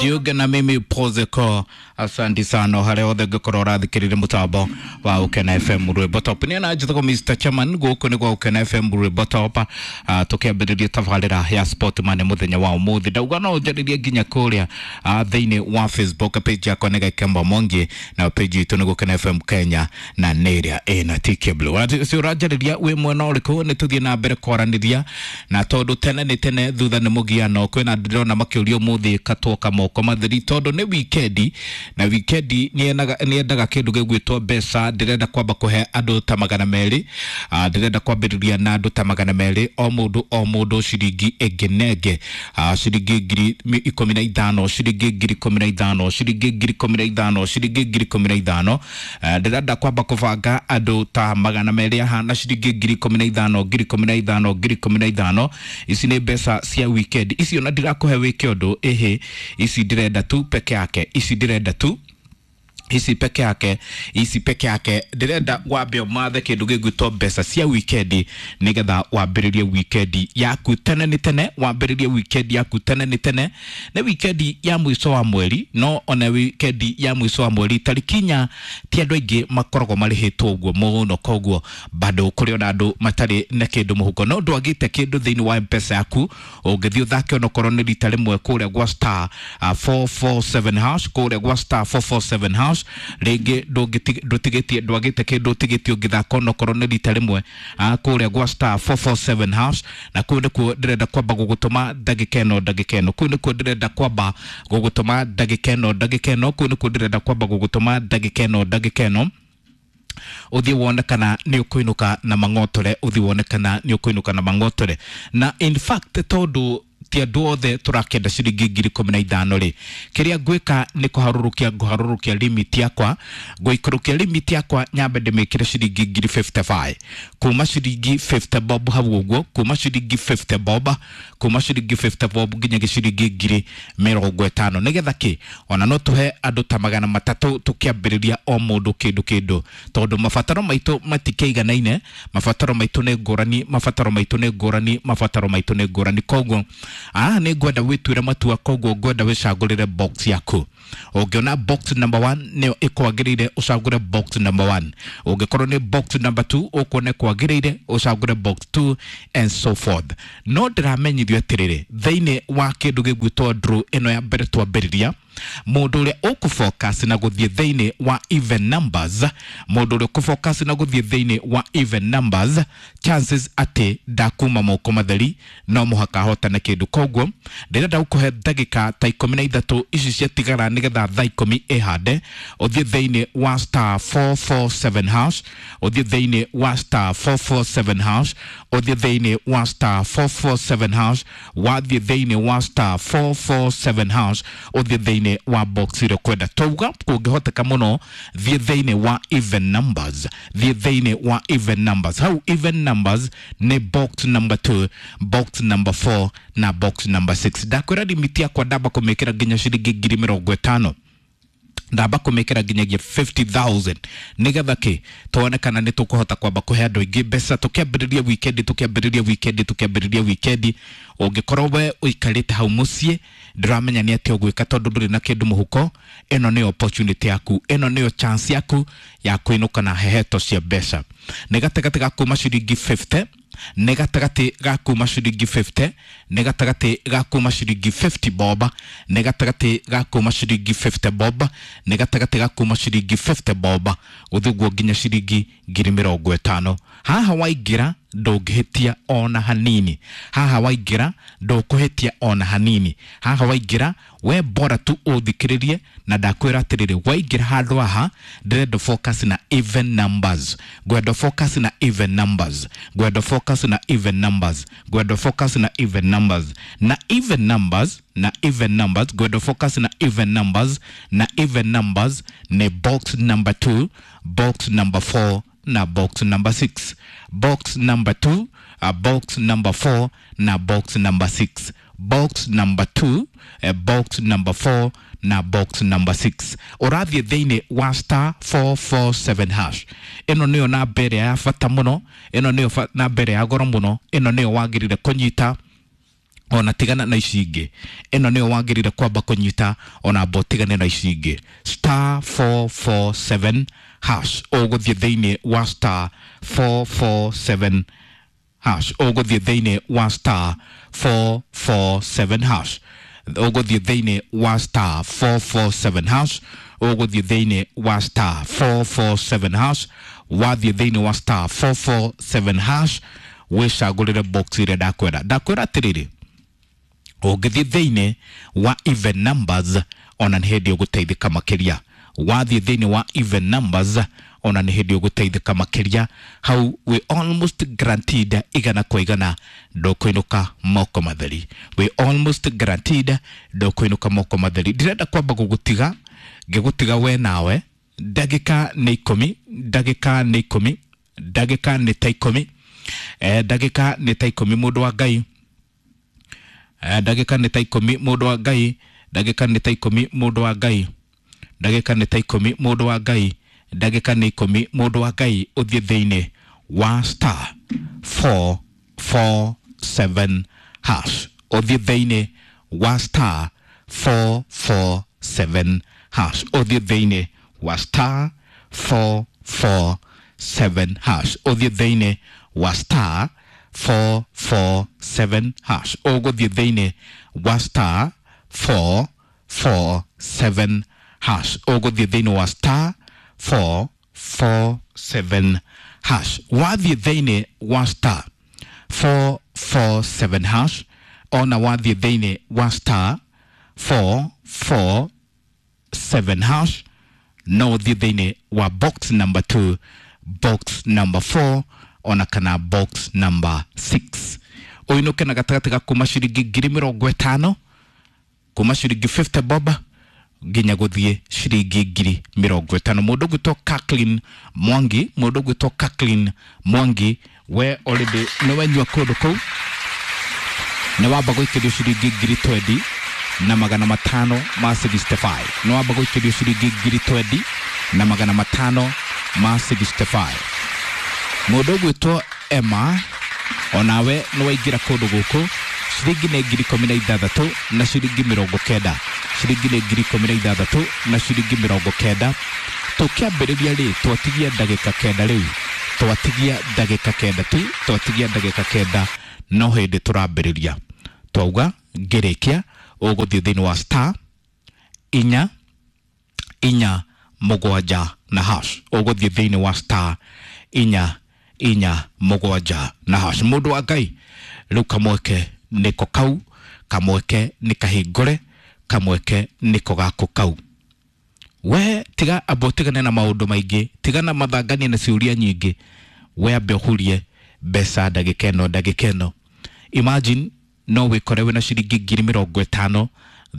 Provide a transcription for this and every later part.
Jiunge na mimi Pozeko. Asante sana harĩa hothe ũngĩkorwo ũrathikĩrĩria mũtambo wa Ũkena FM Rwĩmbo Top. Niĩ na njĩtagwo Mr. Chairman, gũkũ nĩ gwa Ũkena FM Rwĩmbo Top. Tũkĩambĩrĩria tabarĩra ya Sportman mũthenya wa ũmũthĩ. Ndauga no ũnjarĩrie nginya kũrĩa thĩinĩ wa Facebook page yakwa nĩ Gakemba Mwangi na page itũ nĩ Gũkena FM Kenya na nĩ ĩrĩa ĩna TK Blue. Si ũranjarĩria wĩ mwena ũrĩkũ nĩ tũthiĩ na mbere kwaranĩria na tondũ tene nĩ tene thutha nĩ mũgiano kwĩna ndĩrona makĩũria ũmũthĩ katwoka moko matheri tondũ nĩ wikendi na wikendi nĩendaga kĩndũ gĩgwĩtwo mbeca. Ndĩrenda kwamba kũhe andũ ta 200, ndĩrenda kwambĩrĩria na andũ ta 200, o mũndũ o mũndũ ciringi ĩngĩ na ĩngĩ, ciringi 15,000, ciringi 15,000, ciringi 15,000, ciringi 15,000. Ndĩrenda kwamba kũbanga andũ ta 200 haha na ciringi 15,000, 15,000, 15,000. Ici nĩ mbeca cia weekend ici, ona ndirakũhe wĩke ũndũ ĩhĩ, ici ndĩrenda tu peke yake, ici ndĩrenda tu ici peke yake, ici peke yake. Ndĩrenda wambe ũmathe kĩndũ gĩgwĩtwo mbeca cia wikendi nĩgetha wambĩrĩrie wikendi yaku tene nĩ tene, wambĩrĩrie wikendi yaku tene nĩ tene. Nĩ wikendi ya mũico wa mweri, no ona wikendi ya mũico wa mweri tarĩki 4 ti andũ aingĩ makoragwo marĩhĩtwo ũguo mũno, koguo bado kũrĩ ona andũ matarĩ na kĩndũ mũhuko. No ndwagĩte kĩndũ thĩinĩ wa mpesa yaku, ũngĩthiĩ ũthake onokorwo nĩ rita rĩmwe kũrĩa gwa star 447 hash, kũrĩa gwa star 447 hash, rĩngĩ ndũtigĩtie, ndwagĩte kĩndũ ũtigĩtie ũngĩthaka onokorwo nĩ rita rĩmwe kũrĩa gwa star 447 hash. Na kũu nĩkuo ndĩrenda kwamba gũgũtũma ndagĩka ĩno, ndagĩka ĩno, kũu nĩkuo ndĩrenda kwamba gũgũtũma ndagĩka ĩno, ndagĩka ĩno, kũu nĩkuo ndĩrenda kwamba gũgũtũma ndagĩka ĩno, ndagĩka ĩno, ũthiĩ wone kana nĩ ũkũinũka na mang'otore, ũthiĩ wone kana nĩ ũkũinũka na mang'otore. Na in fact tondũ ti andũ othe tũrakĩenda ciringi 15,000 rĩ, kĩrĩa ngwĩka nĩ kũharũrũkia, ngũharũrũkia limit yakwa, ngũikũrũkia limit yakwa nyambe ndĩmĩkĩre ciringi 55,000, kuma ciringi 50 bob hau ũguo, kuma ciringi 50 bob, kuma ciringi 50 bob nginya ciringi 50,000, nĩgetha kĩ ona no tũhe andũ ta 300 tũkĩambĩrĩria o mũndũ kĩndũ kĩndũ, tondũ mabataro maitũ matikĩiganaine, mabataro maitũ nĩ ngũrani, mabataro maitũ nĩ ngũrani, mabataro maitũ nĩ ngũrani. Koguo nĩ ngwenda wĩtuĩre matua, koguo ngwenda wĩcagũrĩre box yaku. Ũngĩona box number 1 nĩyo ĩkwagĩrĩire, ũcagũre box number 1. Ũngĩkorwo nĩ box number 2 ũkuona ĩkwagĩrĩire, ũcagũre box 2 and so forth. No ndĩramenyithio atĩrĩrĩ, thĩinĩ wa kĩndũ gĩgwĩtwo draw ĩno ya mbere twambĩrĩria, mũndũ ũrĩa ũkũfocus na gũthiĩ thĩinĩ wa even numbers, mũndũ ũrĩa ũkũfocus na gũthiĩ thĩinĩ wa even numbers, chances atĩ ndakuma moko matheri, no mũhaka ahotane kĩndũ. Koguo ndĩrenda gũkũhe ndagĩka ta 13 ici ciatigara nĩgetha thaa 10 ĩhande, ũthiĩ thĩinĩ wa star 447 hash, ũthiĩ thĩinĩ wa star 447 hash, ũthiĩ thĩinĩ wa star 447 hash, wathiĩ thĩinĩ wa star 447 hash, ũthiĩ thĩinĩ wa box ĩrĩa ũkwenda. Twauga kũngĩhoteka mũno thiĩ thĩinĩ wa even numbers, thiĩ thĩinĩ wa even numbers. Hau even numbers nĩ box number 2, box number 4 na box number 6. Ndakwĩra limit yakwa ndamba kũmĩkĩra nginya ciringi 50,000, ndamba kũmĩkĩra nginyagia 50,000, nĩgetha kĩ tuone kana nĩ tũkũhota kwamba kũhe andũ aingĩ mbeca tũkĩambĩrĩria wikendi, tũkĩambĩrĩria wikendi, tũkĩambĩrĩria wikendi. Ũngĩkorwo we ũikarĩte hau mũciĩ ndũramenya nĩ atĩa ũgwĩka tondũ ndũrĩ na kĩndũ mũhuko, ĩno nĩyo opportunity yaku, ĩno nĩyo chance yaku ya kũinũka na heheto cia mbeca. Nĩ gatagatĩ ga kuma ciringi 50, nĩ gatagatĩ ga kuma ciringi 50, nĩ gatagatĩ ga kuma ciringi 50 bob, nĩ gatagatĩ ga kuma ciringi 50 bob, nĩ gatagatĩ ga kuma ciringi 50 bob gũthiĩ ũguo nginya ciringi 50,000. Haha waingĩra ndũngĩhĩtia ona hanini, haha waingĩra ndũkũhĩtia ona hanini, haha waingĩra we bora tu ũthikĩrĩrie. Na ndakwĩra atĩrĩrĩ, waingĩra handũ haha ndĩrenda focus na even numbers, ngwenda focus na even numbers, ngwenda focus na even numbers, ngwenda focus na even numbers, na even numbers, na even numbers, ngwenda focus na even numbers, na even numbers nĩ box number 2, box number 4 na box number 6, box number 2, box number 4 na box number 6, box number 2, box number 4 na box number 6. Ũrathiĩ thĩinĩ wa star 447 hash. Ĩno nĩyo namba ĩrĩa ya bata mũno, ĩno nĩyo namba ĩrĩa ya goro mũno, ĩno nĩyo wagĩrĩire kũnyita. Ona tigana na ici ingĩ, ĩno nĩyo wagĩrĩire kwamba kũnyita, ona amba ũtigane na ici ingĩ. Star 447 hash, ũgũthiĩ thĩinĩ wa star 447 hash, ũgũthiĩ thĩinĩ wa star 447 hash, ũgũthiĩ thĩinĩ wa star 447 hash, ũgũthiĩ thĩinĩ wa star 447 hash. Wathiĩ thĩinĩ wa star 447 hash, wĩcagũrĩre box ĩrĩa ndakwĩra. Ndakwĩra atĩrĩrĩ, ũngĩthiĩ thĩinĩ wa even numbers, ona nĩ hĩndĩ ũgũteithĩka makĩria. Wathiĩ thĩinĩ wa even numbers, ona nĩ hĩndĩ ũgũteithĩka makĩria. Hau we almost guaranteed 100% ndũkũinũka moko matheri. We almost guaranteed ndũkũinũka moko matheri. Ndĩrenda kwamba gũgũtiga, ngĩgũtiga we nawe ndagĩka nĩ 10, ndagĩka nĩ 10, ndagĩka nĩ ta 10, ndagĩka nĩ ta 10, mũndũ wa Ngai. Ndagĩka nĩ ta 10, mũndũ wa Ngai. Ndagĩka nĩ ta 10, mũndũ wa Ngai. Ndagĩka nĩ ta 10, mũndũ wa Ngai. Ndagĩka nĩ 10, mũndũ wa Ngai, ũthiĩ thĩinĩ wa star 447 hash, ũthiĩ thĩinĩ wa star 447 hash, ũthiĩ thĩinĩ wa star 447 hash, ũthiĩ thĩinĩ wa star 447 hash, ũgũthiĩ thĩinĩ wa star 447 hash, ũgũthiĩ thĩinĩ wa star 447 hash. Wathiĩ thĩinĩ wa star 447 hash, ona wathiĩ thĩinĩ wa star 447 hash, no ũthiĩ thĩinĩ wa box number 2, box number 4, ona kana box number 6, ũinũke na gatagatĩ ga kuma ciringi 50,000, kuma ciringi 50 bob nginya gũthiĩ ciringi 50,000. Mũndũ ũgwĩtwo Kathleen Mwangi, mũndũ ũgwĩtwo Kathleen Mwangi, we already nĩ wenyua kũndũ kũu, nĩ wamba gũikĩrio ciringi 20,565. Nĩ wamba gũikĩrio ciringi 20,565. Mũndũ ũgwĩtwo Emma, onawe nĩ waingĩra kũndũ gũkũ, ciringi nĩ 16,090 na ciringi 90, ciringi nĩ 16,090 na ciringi 90. Tũkĩambĩrĩria rĩ, twatigia ndagĩka 9 rĩu, twatigia ndagĩka 9 tu, twatigia ndagĩka 9, no hĩndĩ tũrambĩrĩria. Twauga ngĩrĩkia ũgũthiĩ thĩinĩ wa star 4 4 7 na hash, ũgũthiĩ thĩinĩ wa star 4 4 7 na hash. Mũndũ wa Ngai, rĩu kamweke nĩko kau, kamweke nĩ kahingũre, kamweke nĩko gako kau. We tiga amba ũtigane na maũndũ maingĩ, tigana mathangania na ciũria nyingĩ, we ambe ũhurie mbeca ndagĩka ĩno, ndagĩka ĩno. Imagine no wĩkore wĩna ciringi 50,000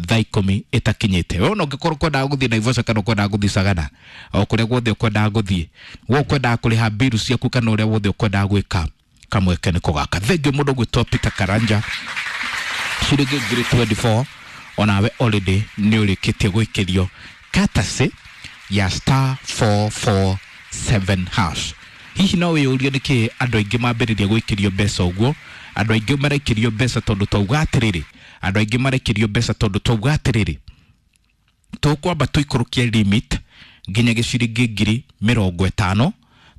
thaa 10 ĩtakinyĩte. We ona ũngĩkorwo ũkwendaga gũthiĩ Naivasha kana ũkwendaga gũthiĩ Sagana, o kũrĩa guothe ũkwendaga gũthiĩ, we ũkwendaga kũrĩha mbiru ciaku kana ũrĩa wothe ũkwendaga gwĩka, kamweke nĩko gaka. Thengiũ mũndũ ũgwĩtwo Peter Karanja, ciringi 24,000, onawe already nĩ ũrĩkĩtie gwĩkĩrio courtesy ya star 447 hash. Hihi no wĩyũrie nĩkĩ andũ aingĩ mambĩrĩria gwĩkĩrio mbeca ũguo? Andũ aingĩ maraikĩrio mbeca tondũ twauga atĩrĩrĩ, andũ aingĩ maraikĩrio mbeca tondũ twauga atĩrĩrĩ, tũkwamba tũikũrũkie limit nginya gĩciringi 50,000,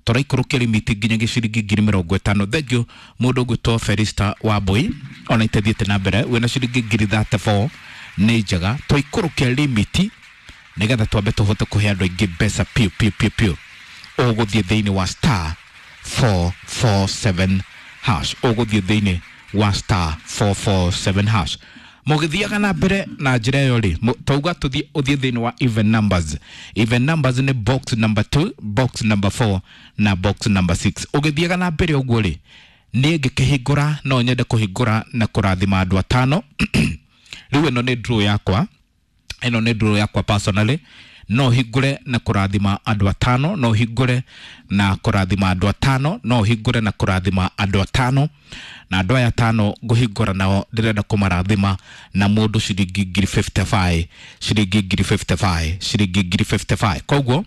tũraikũrũkia limit nginya gĩciringi 50,000. Thengiũ mũndũ ũgwĩtwo Felista Wambui, ona itathiĩte na mbere, wĩna ciringi 34,000, nĩ njega. Twaikũrũkia limit nĩgetha twambe tũhote kũhe andũ aingĩ mbeca piũ piũ piũ piũ. Ũgũthiĩ thĩinĩ wa star 447 hash, ũgũthiĩ thĩinĩ wa star 447 hash. Mũgĩthiaga na mbere na njĩra ĩyo rĩ, twauga tũthiĩ, ũthiĩ thĩinĩ wa even numbers. Even numbers nĩ box number 2, box number 4 na box number 6. Ũgĩthiaga na mbere ũguo rĩ, niĩ ngĩkĩhingũra, no nyende kũhingũra na kũrathima andũ 5. Rĩu ĩno nĩ draw yakwa, ĩno nĩ draw yakwa personally. No hingũre na kũrathima andũ 5, no hingũre na kũrathima andũ 5, no hingũre na kũrathima andũ 5. Na andũ aya 5 ngũhingũra nao, ndĩrenda kũmarathima na mũndũ ciringi 55,000, ciringi 55,000, ciringi 55,000. Koguo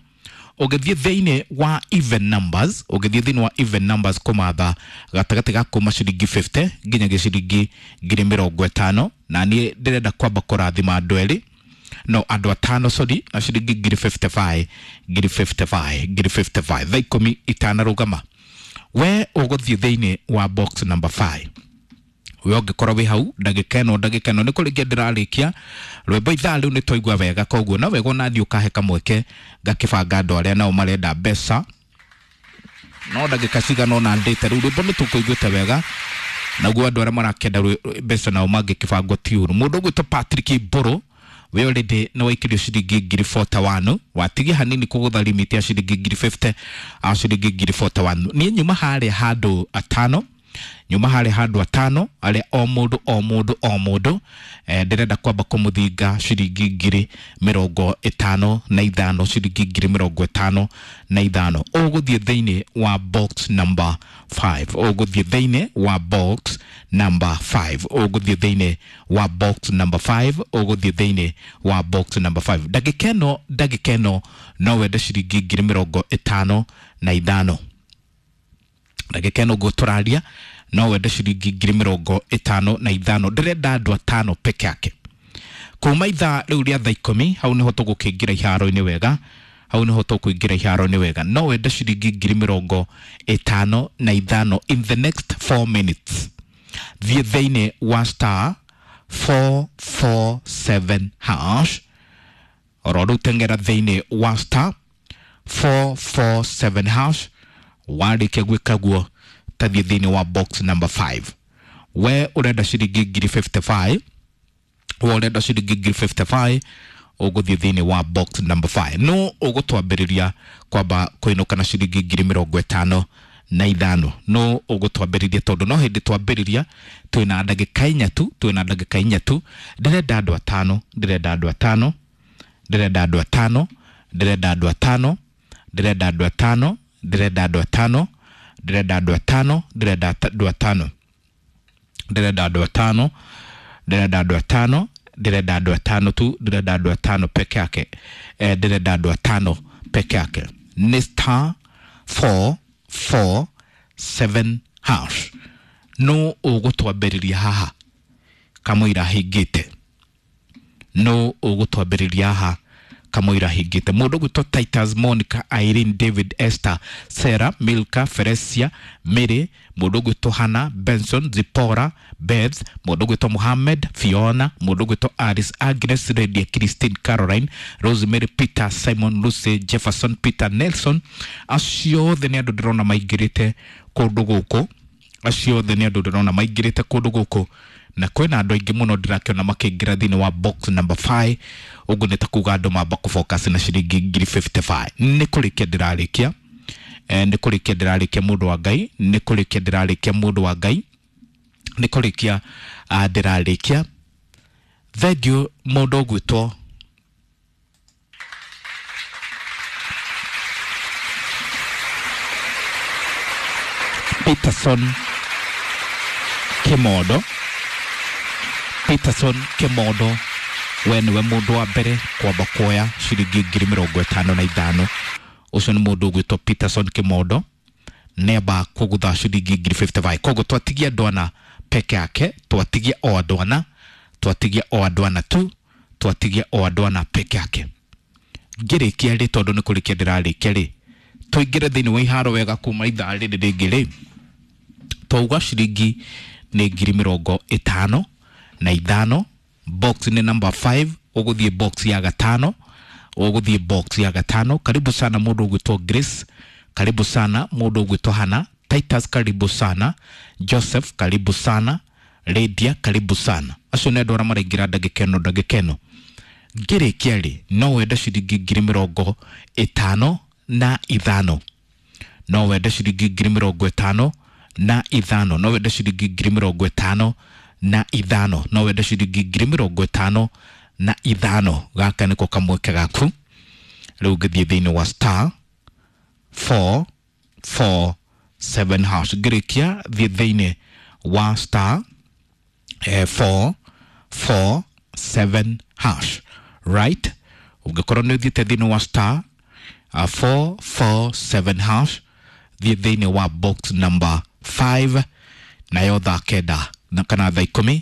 Ũgĩthiĩ thĩinĩ wa even numbers, ũgĩthiĩ thĩinĩ wa even numbers kũmatha gatagatĩ ga kuma ciringi 50 nginya ciringi 50,000, na niĩ ndĩrenda kwamba kũrathima andũ erĩ, no andũ atano, sorry, na ciringi 55,000, 55,000, 55,000 thaa 10 itanarũgama. We ũgũthiĩ thĩinĩ wa box number 5. We ũngĩkorwo wĩ hau ndagĩka ĩno, ndagĩka ĩno nĩ kũrĩkia ndĩrarĩkia rwĩmbo ithaa rĩu nĩ twaigua wega, koguo no wega onaniĩ ũkahe kamweke ngakĩbanga andũ arĩa nao marenda mbeca, no ndagĩka cigana ũna ndĩte rĩu rwĩmbo nĩ tũkũiguĩte wega, naguo andũ arĩa marakĩenda mbeca nao mangĩkĩbangwo ti ũru. Mũndũ ũgwĩtwo Patrick Mbũrũ, we already nĩ waikĩrio ciringi 41,000, watigia hanini kũgũtha limit ya ciringi 50,000, a ciringi 41,000. Niĩ nyuma harĩa handũ atano, nyuma harĩa handũ atano arĩa o mũndũ o mũndũ o mũndũ, ndĩrenda kwamba kũmũthinga ciringi 55,000, ciringi 55,000. Ũgũthiĩ thĩinĩ wa box number 5, ũgũthiĩ thĩinĩ wa box number 5, ũgũthiĩ thĩinĩ wa box number 5, ũgũthiĩ thĩinĩ wa box number 5. Ndagĩka ĩno, ndagĩka ĩno no wende ciringi 55,000. Ndagĩka ĩno ũguo tũraria no wende ciringi 55,000. Ndĩrenda andũ atano peke yake kuma ithaa rĩu rĩa thaa 10, hau nĩho tũgũkĩingĩra iharo-inĩ wega, hau nĩho tũkũingĩra iharo-inĩ wega. No wende ciringi 55,000 in the next 4 minutes. Thiĩ thĩinĩ wa star 447 hash, oro rĩu teng'era thĩinĩ wa star 447 hash. Warĩkia gwĩka guo tathiĩ thĩinĩ wa box number 5. We ũrenda ciringi 55,000, we ũrenda ciringi 55,000, ũgũthiĩ thĩinĩ wa box number 5. No ũgũtwambĩrĩria kwamba kũinũka na ciringi 55,000. No ũgũtwambĩrĩria tondũ no hĩndĩ twambĩrĩria, twĩna ndagĩka inya tu, twĩna ndagĩka inya tu. Ndĩrenda andũ atano, ndĩrenda andũ atano, ndĩrenda andũ atano, ndĩrenda andũ atano, ndĩrenda andũ atano, ndĩrenda andũ atano, ndĩrenda andũ atano, ndĩrenda andũ atano, ndĩrenda andũ atano, ndĩrenda andũ atano, ndĩrenda andũ atano tu, ndĩrenda andũ atano peke yake, ndĩrenda andũ atano peke yake. Nĩ star 447 hash. No ũgũtwambĩrĩria haha kamũira hingĩte, no ũgũtwambĩrĩria haha kamũira hingĩte. Mũndũ ũgwĩtwo Titus, Monica, Irene, David, Esther, Sarah, Milka, Feresia, Mary, mũndũ ũgwĩtwo Hannah, Benson, Zipporah, Beth, mũndũ ũgwĩtwo Mohammed, Fiona, mũndũ ũgwĩtwo Alice, Agnes, Lydia, Christine, Caroline, Rosemary, Peter, Simon, Lucy, Jefferson, Peter, Nelson. Acio othe nĩ andũ ndĩrona maingĩrĩte kũndũ gũkũ, acio othe nĩ andũ ndĩrona maingĩrĩte kũndũ gũkũ, na kwĩna andũ aingĩ mũno ndĩrakĩona makĩingĩra thĩinĩ wa box number 5. Ũguo nĩ ta kuga andũ mamba kũfocus na ciringi 55,000. Nĩ kũrĩkia ndĩrarĩkia, nĩ kũrĩkia ndĩrarĩkia mũndũ wa Ngai, nĩ kũrĩkia ndĩrarĩkia mũndũ wa Ngai, nĩ kũrĩkia ndĩrarĩkia. Thengiũ mũndũ ũgwĩtwo Peterson Kimondo, Peterson Kimondo, we nĩwe mũndũ wa mbere kwamba kuoya ciringi 55,000. Ũcio nĩ mũndũ ũgwĩtwo Peterson Kimondo, nĩamba kũgũtha ciringi 55,000. Koguo twatigia andũ ana peke yake, twatigia o andũ ana, twatigia o andũ ana tu, twatigia o andũ ana peke yake. Ngĩrĩkia rĩ, tondũ nĩ kũrĩkia ndĩrarĩkia rĩ, tũingĩre thĩinĩ wa iharo wega kuma ithaa rĩrĩ rĩngĩ rĩ, twauga ciringi nĩ 55,000. Box nĩ number 5, ũgũthiĩ box ya gatano, ũgũthiĩ box ya gatano. Karibu sana mũndũ ũgwĩtwo Grace, karibu sana mũndũ ũgwĩtwo Hannah, Titus karibu sana, Joseph karibu sana, Lydia karibu sana. Acio nĩ andũ arĩa maraingĩra ndagĩka ĩno, ndagĩka ĩno. Ngĩrĩkia rĩ, no wende ciringi 55,000, no wende ciringi 55,000, no wende ciringi 55,000, no wende ciringi 55,000. Gaka nĩko kamweke gaku. Rĩu ngĩthiĩ thĩinĩ wa star 447 hash. Ngĩrĩkia thiĩ thĩinĩ wa star 447 hash, right? Ũngĩkorwo nĩ ũthiĩte thĩinĩ wa star 447 hash, thiĩ thĩinĩ wa box number 5, nayo thaa 9 na kana thaa 10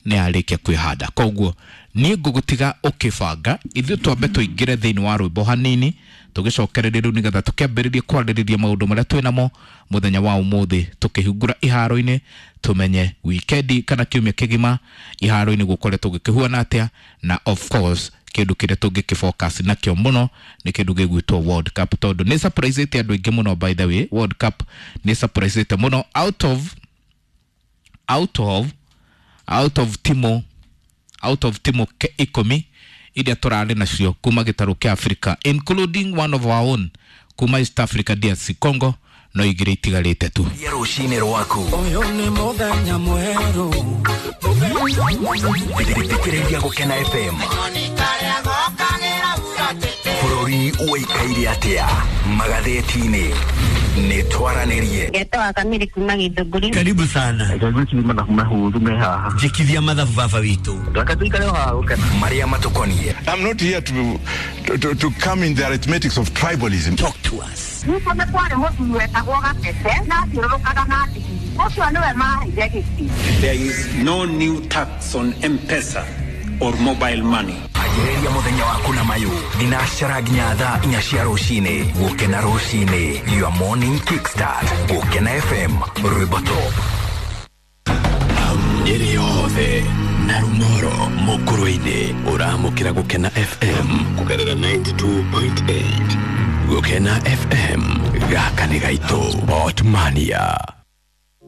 nĩ yarĩkia kwĩhanda. Koguo niĩ ngũgũtiga ũkĩbanga, ithuĩ twambe tũingĩre thĩinĩ wa rwĩmbo hanini, tũgĩcokererie rĩu nĩgetha tũkĩambĩrĩrie kwarĩrĩria maũndũ marĩa twĩ namo mũthenya wa ũmũthĩ, tũkĩhingũra iharo-inĩ, tũmenye wikendi kana kiumia kĩgima iharo-inĩ gũkoretwo gũkĩhuana atĩa, na of course kĩndũ kĩrĩa tũngĩkĩfocus nakĩo mũno nĩ kĩndũ gĩgwĩtwo World Cup, tondũ nĩ surprisĩte andũ aingĩ mũno. By the way, World Cup nĩ surprisĩte mũno. Out of timu, out of timu 10 iria tũrarĩ nacio kuma gĩtarũ kĩa Africa, including one of our own kuma East Africa, DRC Congo, no 2 itigarĩte tu. Ya rũcinĩ rwaku. Ũyũ nĩ mũthenya mwerũ. Thikĩrĩria Gũkena FM. Bũrũri ũikaire atĩa magathĩti-inĩ? Nĩ twaranĩrie. Ngetwa Kamiri kuma Githũngũri. Karibu sana. Mathabu mahũthũ me haha. Njikithia mathabu baba witũ. Reke tuikare haha gũkena. Marĩa matũkonie. I'm not here to come in the arithmetics of tribalism. Talk to us. Gwitũ nĩ kwarĩ mũthuri wetagwo Gatete na athiũrũrũkaga na ndigiri. Ũcio nĩwe maheire gĩtĩ. There is no new tax on M-Pesa or mobile money. Anjĩrĩria mũthenya waku na mayũ thinacara nginya thaa 4 cia rũcinĩ. Gũkena rũcinĩ, your morning kickstart. Gũkena FM, rwĩmbo top. Nyĩrĩ yothe na Rumoro mũkũrũ-inĩ, ũramũkĩra Gũkena FM kũgerera 92.8. Gũkena FM, gaka nĩ gaitũ. Sport Mania.